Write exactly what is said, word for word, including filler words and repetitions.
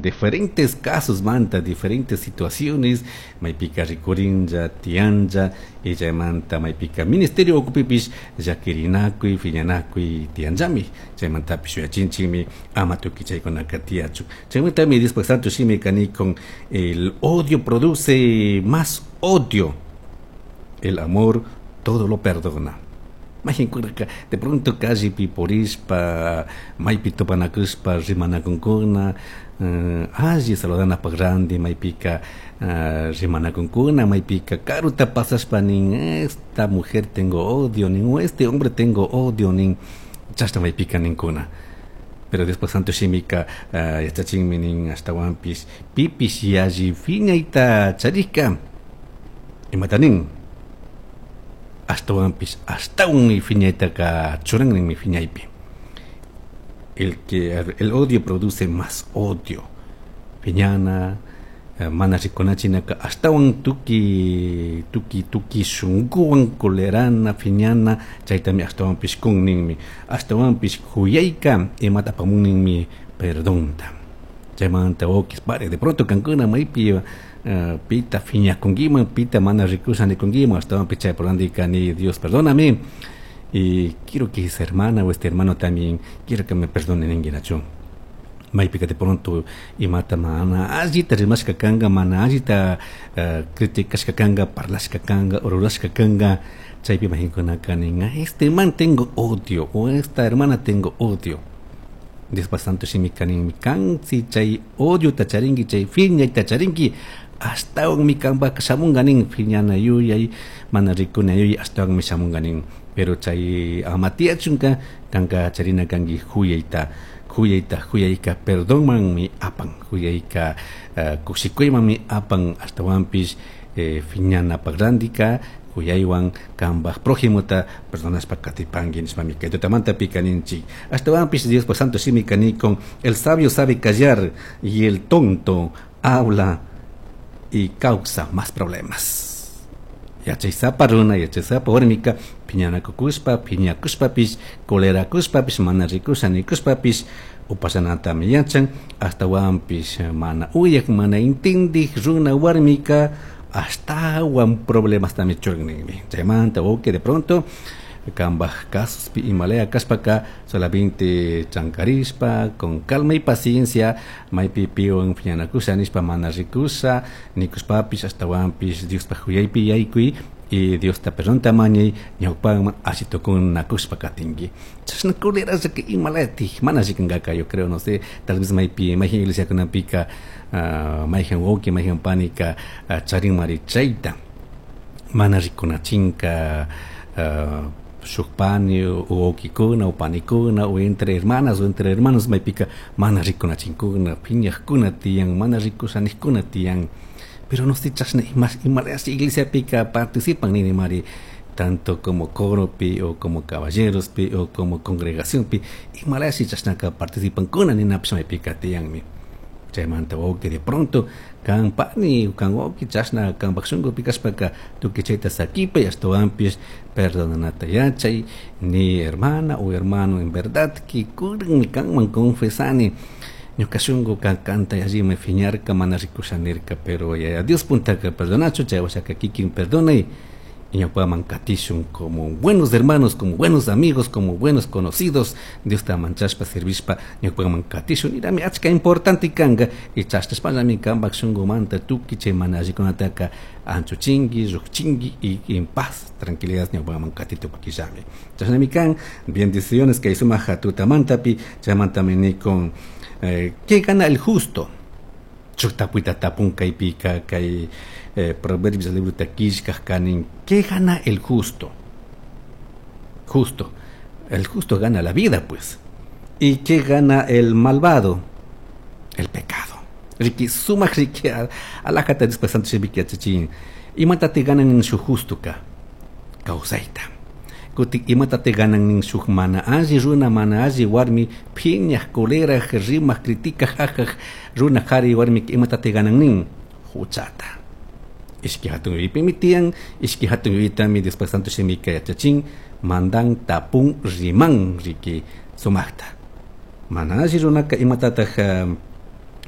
Diferentes casos manta, diferentes situaciones, maypika rikurinlla, tiyanlla, y chaymanta maypika ministerio ukupipish llakirinakuy, phiñanakuy tiyanllami, chaymantapish yuyachinchikmi ama tukuy chaykunaka tiyachun. Chaymantami Diospak Santo Shimika nikun, el odio produce más odio, el amor todo lo perdona. Mayqinkunaka de pronto callepi purishpa, maypi tupanakushpa rimanakunkuna, alli saludanapak randi maypika rimanakunkuna, maypika karuta pasashpa nin esta mujer tengo odio nin, o este hombre tengo odio nin, chashna maypika ninkuna. Pero después Santo Shimika yachachinmi nin ashtawanpish pipish yalli phiñayta charishka imata nin ashtawanpish ashtawanmi phiñaytaka churan ninmi phiñaypi. El que el odio produce más odio. Phiñana mana rikunachinaka ashtawan tuki tuki tuki shunkuwan colerana phiñana chaytami ashtawanpish kun ninmi, ashtawanpish kuyayka imata apamun ninmi perdonta. Chaymanta wawkis pare de pronto kankuna maypi uh, pita phiñakunkiman, pita mana rikusha nikunkiman, ashtawanpish chay porandika ni Dios perdóname y quiero que esa hermana o este hermano también quiero que me perdone ninguinachu. Maypika de pronto imata mana allita rimashka kanga, mana allita uh, criticashka kanga, parlashka kanga, rurashka kanga, chaypi mayqinkunaka nin este man tengo odio o esta hermana tengo odio. Diospa Santo Shimika ninmi kan si chay odio tacharinki, chay phiñayta charinki, ashtawanmi kanpak shamunga nin phiñana yuyay, mana rikuna yuyay ashtawanmi shamunga nin. Pero chay ama tiyachunka kanka charina kanki huyayta, huyayta, huyayka perdonmanmi apan, huyayka uh, kushikuymanmi apan, ashtawanpish eh, phiñanapak randika huyaywan kanpak prójimota perdonashpa katipanki nishpami kay tutamantapi kaninchik. Ashtawanpish Diospa Santo Shimika nikun, el sabio sabe callar y el tonto habla y causa más problemas. Yachaysapa runa, yachaysapa warmika phiñanakukushpa, phiñakushpapish, colerakushpapish, mana rikusha nikushpapish upashanatami yachan, ashtawanpish mana uyak, mana intindik runa warmika ashtawan problemastami churan ninmi. Chaymanta wawki de pronto kanpak casos imalaya kashpaka solamente chankarishpa con calma y paciencia maypi piwan phiñanakusha nishpa mana rikusha nikushpapish ashtawanpish Diospaj huyaypi yaykuy y Diosta perdonta mañay ñawpaman alli tukunakushpa katinki. Chashna colerashka imalayatik mana rikunkaka, yo creo, no sé, tal vez maypi mayqin iglesiakunapika uh, mayqin wawki mayqin panika uh, charinmari chayta mana rikunachinka uh, shuk pani o wawkikuna o panikuna o entre hermanas o entre hermanos maypika mana rikunachinkuna, phiñaqkuna tiyan, mana rikushanikuna tiyan. Pero no sé, chashna imalayash iglesiapika participan nini mari, tanto como coropi o como caballerospi o como congregacionpi, imalayash chashnaka participan kuna ninapish maypika tiyanmi. Chaymanta wawki de pronto kan pani kan wawki chashna kanpak shunkupi kashpaka tukuy chayta sakipay ashtawanpish perdonanata yachay ni hermana o hermano en verdad que kuranmi kanman confesani ñuka shunkuka kanta allimi phiñarka mana rikusha nirka, pero yaya Dios puntaka perdonachu chay washaka kikin perdonay y ñawpaman katishun como buenos hermanos, como buenos amigos, como buenos conocidos. Dios ta manchashpa servishpa ñawpaman katishun irami achka importante kanga y chashtashpallami kanpak shunkumanta tukuy chay mana allikunataka anchuchinki, lluqchinki y en paz, tranquilidad ñawpaman katitukukillami. Chashnami kan bendiciones kay sumaq tutamantapi chaymantami nikun eh, ¿qué gana el justo? Shuk tapuyta tapun kaypika kay eh, Proverbios libro killkaj kanin, ¿qué gana el justo? Justo. El justo gana la vida, pues. ¿Y qué gana el malvado? El pecado. Riki, sumaq riki, alajata Diospa Santo Shimiki yachachin. Imatate ganan shuk justoka? Kawsayta. Kutin imatate ganan shuk mana alli runa, mana alli warmi, phiñaj, coleraj, rimaj, criticaj, ajaj, runa qhari warmi, imatate ganan nin? Huchata. Ishki hatun yuyaypimi tiyan, ishki hatun yuyaytami Diospa Santo Shimika yachachin, mandan tapun riman riki sumaqta. Mana alli runaka imatataq